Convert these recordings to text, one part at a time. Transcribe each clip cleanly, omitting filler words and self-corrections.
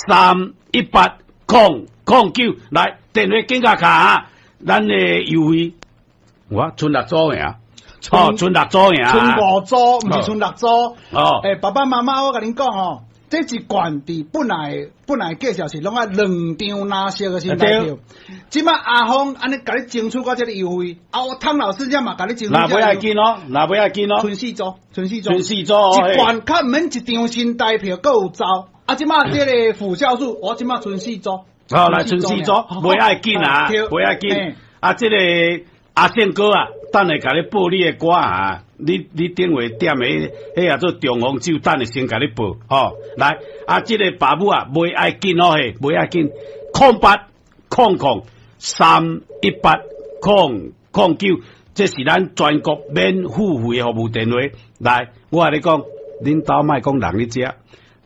318 009，來電話緊共敲啊！咱的優惠，我賰六組爾，哦，賰六組爾，賰五組，毋是賰六組。哦，欸，爸爸媽媽，我共恁講吼，這一罐佇本來介紹是攏愛兩張藍色的新台票，這擺阿峰按呢共你爭取到這个優惠，啊，我湯老師這嘛共你爭取。若欲愛緊哦，若欲愛緊哦，賰四組，賰四組，賰四組哦，一罐較毋免一張新台票，閣有走。啊，這擺這个副酵素，我這擺賰四組。好，來賰四組，袂愛緊啊，袂愛緊。啊，這个阿勝哥啊，等下共你報你的歌啊。你頂位點的，彼個做中風酒，等下先共你報，吼。來，啊，這个爸母啊，袂愛緊哦，嘿，袂愛緊，0800 318 009，這是咱全國免付費的服務電話。來，我共你講，恁兜莫講人咧食，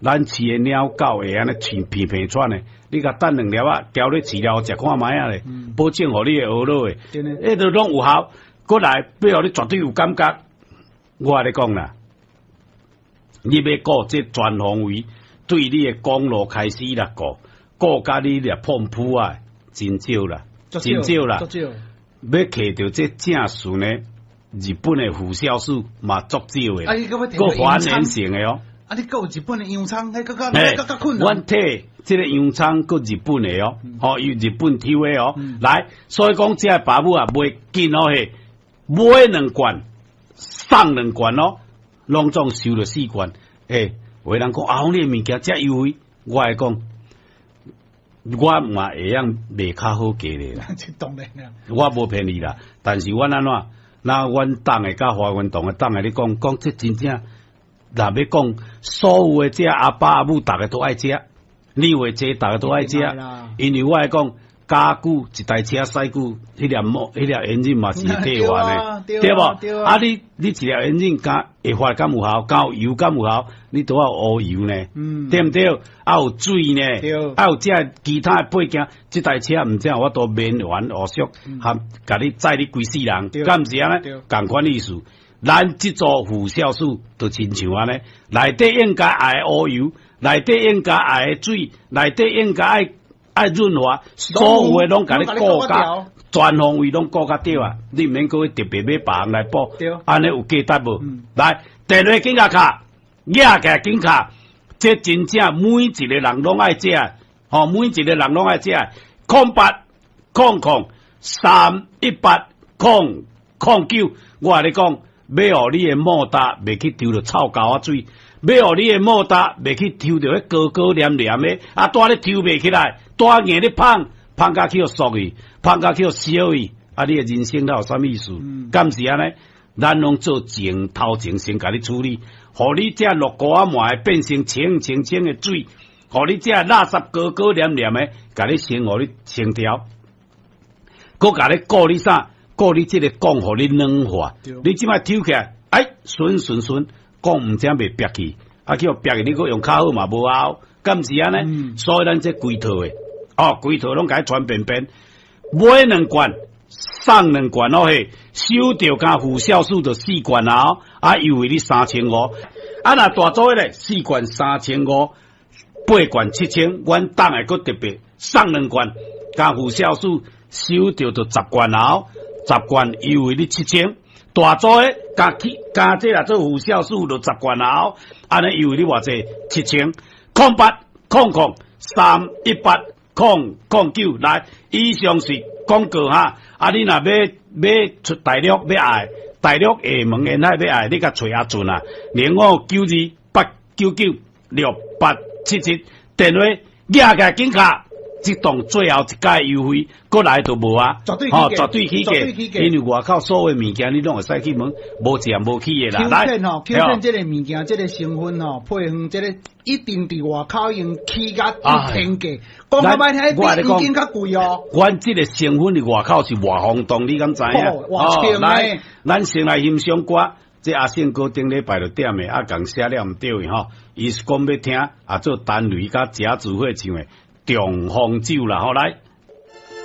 咱飼的貓狗會按呢飼鼻鼻喘的，你共等兩粒仔，交咧飼料食看覓仔咧，保證予你會呵落的，彼都攏有效。過來，欲予你絕對有感覺。我共你講啦，你欲顧這全方位，對你的公路開始來顧，顧甲你掠碰撲啊，真少啦，真少啦。欲摕著這正順的日本的腐酵素嘛，足少的，閣還原性的哦。啊，你閣有日本的洋蔥，彼閣較閣較困難。阮提這个洋蔥閣日本的哦，吼，由日本抽的哦。來，所以講這个爸母啊，袂緊哦嘿，買兩罐。送兩罐哦，攏總收著四罐。欸，有的人講啊，你的物件遮優惠，我會講，我嘛會曉賣較好價咧啦。當然啦，我無騙你啦，但是阮按怎？那阮黨的佮華源堂的黨的，你講講這真正，若欲講所有的這阿爸阿母，逐个都愛食，你以為這逐个都愛食？因為我會講。加久一台車駛久，彼粒摩，彼粒引擎嘛是會退化呢，對無？啊你，你一粒引擎敢會發敢有效，敢有油敢有效，你都要烏油呢，對毋對？啊有水呢，啊有這其他的配件，這台車毋知有法度免還烏縮，含共你載你規世人，敢毋是按呢？仝款意思，咱這組副酵素就親像按呢，內底應該愛烏油，內底應該愛水，內底應該愛。愛潤滑，所有的攏共你顧甲全方位攏顧甲對啊！你毋免閣去特別買別項來補，按呢有價值無？來，電話緊共敲，舉起來緊敲，這真正每一个人攏愛食，吼，每一个人攏愛食。0800 318 009，我共你講，欲予你的莫達袂去抽著臭膠仔水，欲予你的莫達袂去抽著彼膏膏黏黏的，啊，蹛咧抽袂起來。蹛硬咧芳，芳甲去予縮去，芳甲去予燒去，啊！你的人生哪有啥物意思？敢毋是按呢？咱攏做前頭前先共你處理，予你這落膏仔糜變成清清清的水，予你這垃圾膏膏黏黏的，共你先予你清掉，閣共你顧你啥？顧你這个摃予你軟化，你這擺抽起來，哎，順順順，摃毋知袂煏去，啊，去予煏去，你閣用較好嘛無效，敢毋是按呢？所以咱這規套的。哦，規套攏共伊傳遍遍，買兩罐送兩罐哦嘿，收著佮副酵素就四罐啊，啊優惠你3500，啊若大組的咧四罐3500，八罐7000，阮黨的閣特別送兩罐，佮副酵素收著就十罐啊，十罐優惠你7000，大組的加起加這啦做副酵素就十罐啊，按呢優惠你偌濟7000，0800 318 009來，以上是廣告哈。啊，你若欲出大陸欲愛，大陸廈門沿海欲愛，你共揣阿俊啊，05928996877電話，舉起來緊敲。這檔最後一屆優惠，過來就無啊，絕對吼，絕對起價，因為外口所有物件你攏會使去問，無一項無起的啦。來， Q 10吼，Q 10這个物件，這个成分吼，配方這个一定佇外口已經起甲一天價，講較歹聽，比黃金較貴哦。阮這个成分佇外口是偌轟動，你敢知影？哦，來，咱先來欣賞歌，這阿勝哥頂禮拜就點的，啊，共寫了毋對的吼，伊是講欲聽啊，做陳雷佮賈子慧唱的《中風酒》啦，吼來。